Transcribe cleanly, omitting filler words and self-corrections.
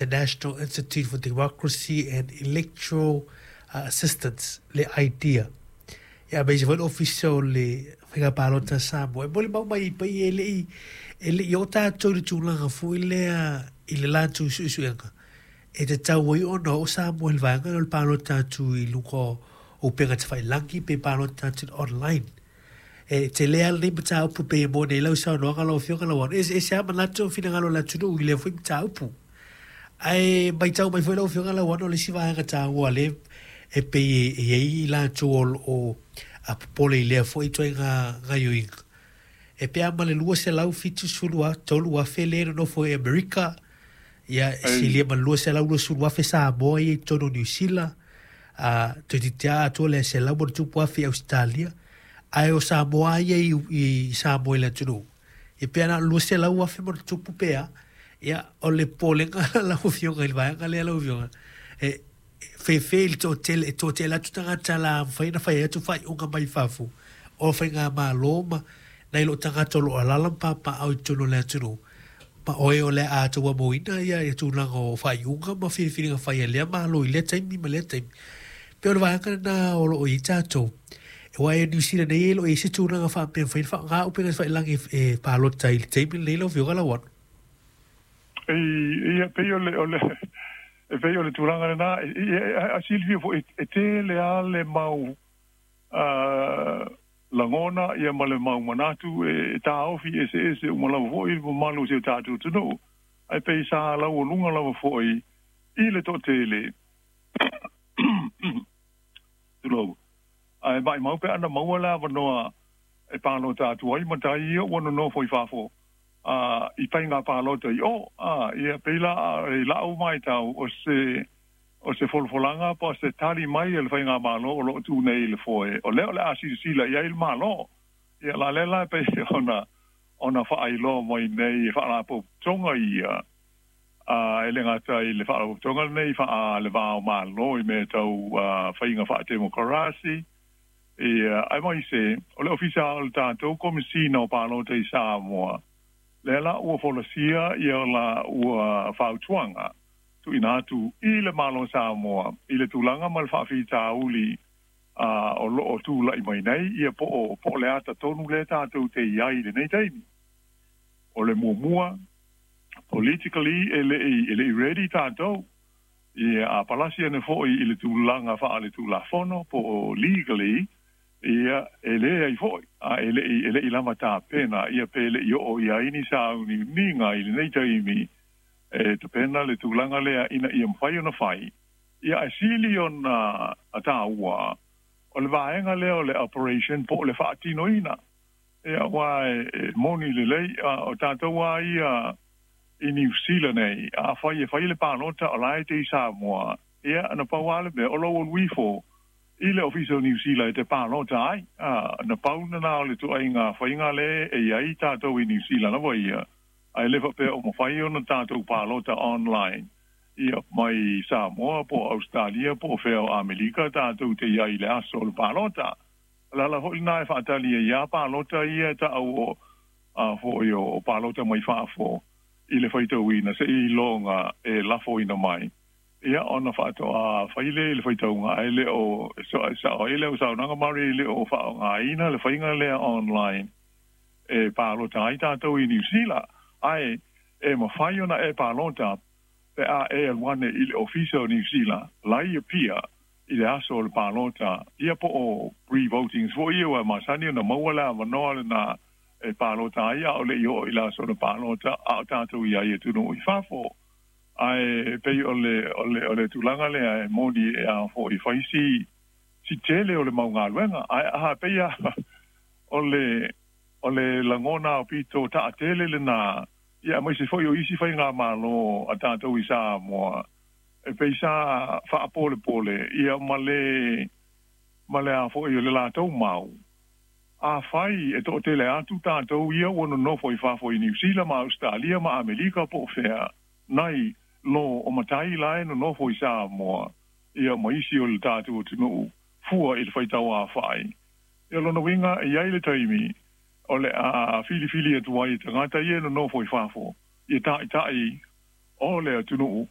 National Institute for Democracy and Electoral Assistance, le IDEA. Ia aemaise foi le Ofisa o le Faiga Palota a Samoa. E molimau mai ai pei e le i, e le i oo tatou i le tulaga foi lea i le latou suesuega e tatau ai ona oo Samoa i le vaega lea o le palota atu i luga o upega tafailagi pe palota atu i le online. E tele lava lenei mataupu pei e moni ai lau saunoaga lau Afioga Lauano, e eseese lava manatu ma finagalo o le atunuu i lea foi mataupu. Ae matau mai foi lau Afioga Lauano, o le isi vaega taua lea e pei e i ai i latou o lo o popole i lea foi ituaiga gaoioiga, e pe a ma le 273,000 lea e nonofo i Amerika, ia e silia ma le 220,000 Samoa ia i totonu o Niu Sila, a toeitiiti lava atoa le 100+ i Ausetalia, ae o Samoa lava ia i Samoa i le atunuu, ia pe na o le 200,000+ pe a. Ia, o le popolega lau Afioga i le vaega lea lau Afioga, e fefe i le toatele, e toatele atu tagata la mafai ona fai atu faaiuga mai fafo o faigamalo ma nai lo tagata o lo o alaala ma papaaao i totonu o le atunuu, ma oe o le a tauamoina ia tulaga o faaiuga ma filifiliga fai a lea Malo i lea taimi ma lea taimi. Pei o le vaega lena o lo o i ai tatou. Aua e Niu Sila nei e le o i ai se tulaga faapea e mafai ona faaaoga upega tafailagi e palota i le taimi lenei lau Afioga Lauano. Ia, pei o le, o le, e pei o le tulaga lena, a silafia foi, e tele lava le mau lagona ia ma le mau manatu e taofi eseese uma lava foi le mamalu o si o tatou atunuu, ae pei sa laualuga lava foi i le toatele, tulou, ae maimau pe ana maua le avanoa e palota atu ai matai ia ua nonofo i fafo a i faiga palota i o, a ia pei la i la'u matau o se o se folafolaga po o se tali mai a le faigamalo o lo o tu nei i le foe, o lea o le a silasila i ai le Malo. Ia la lea la e pei ona ona faailoa mai nei e faalapotopotoga ia, a e le gata i le faalapotopotoga lenei faa le va o Malo i mea tau faiga faatemokarasi, ia aemaise o le Ofisa o le tatou Komesina o Palota i Samoa, lea la ua folasia ia la ua fautuaga tuuina atu i le Malo o Samoa i le tulaga ma le faafitauli o lo o tulai mai nei, ia po o po o le ata tonu lea tatou te i ai i lenei taimi. O le muamua, politically e le i e le i ready tatou, ia a palasi ane foi i le tulaga faaletulafono po o legally, ia e leai foi, a e le i e le i lava tapena, ia pe le i oo i ai ni sauniuniga i lenei taimi e tapena le tulaga lea ina ia mafai ona fai, ia ae sili ona taua o le vaega lea o le operation po o le faatinoina. Ia aua e moni lelei, o tatou lava ia i Niu Sila nei, afai e fai le palota o la e te i Samoa, ia na pau lava le mea o lou alu ifo i le Ofisa o Niu Sila e te palota ai. Na pau lena o le ituaiga faiga lea e i ai tatou i Niu Sila lava ia, ae le faapea o mafai ona tatou palota online ia mai Samoa po o Ausetalia po o fea o Amelika tatou te i ai i le aso o le palota. O le ala foi lena e faatali ai lava palota ia e ta'u o a foi o palota mai fafo i le faitauina seiloga e lafoina mai ia ona faatoa fai lea i le faitauga ae le o sa'o ai lau saunoaga Murray e le o faaaogaina le faiga lea online e palota ai tatou i Niu Sila, ae e mafai ona e palota pe a e alu ane i le Ofisa o Niu Sila la i Apia i le aso o le palota, ia po o pre-votings foi ia ua masani ona maua le avanoa lena e palota ai a o le i oo i le aso o le palota a o tatou i ai i atunuu i fafo. Ae pei o le, o le, o le tulaga lea e moni e a foi fai si, si tele o le mau galuega, ae a pei a O le, o le lagona aupito taatele lena, ia aemaise foi o isi faigamalo a tatou i Samoa, e pei sa faapolepole ia ma le, ma le a foi o le latou mau. Afai e toatele atu tatou ia ua nonofo i fafo i Niu Sila ma Ausetalia ma Amelika po o fea, nai lo o matai la e nonofo i Samoa, ia ma isi o le tatou atunuu, fua i le faitauaofai. Ia lona uiga, e i ai le taimi o le a filifili atu ai e tagata ia e nonofo i fafo, ia taitai O le atunuu.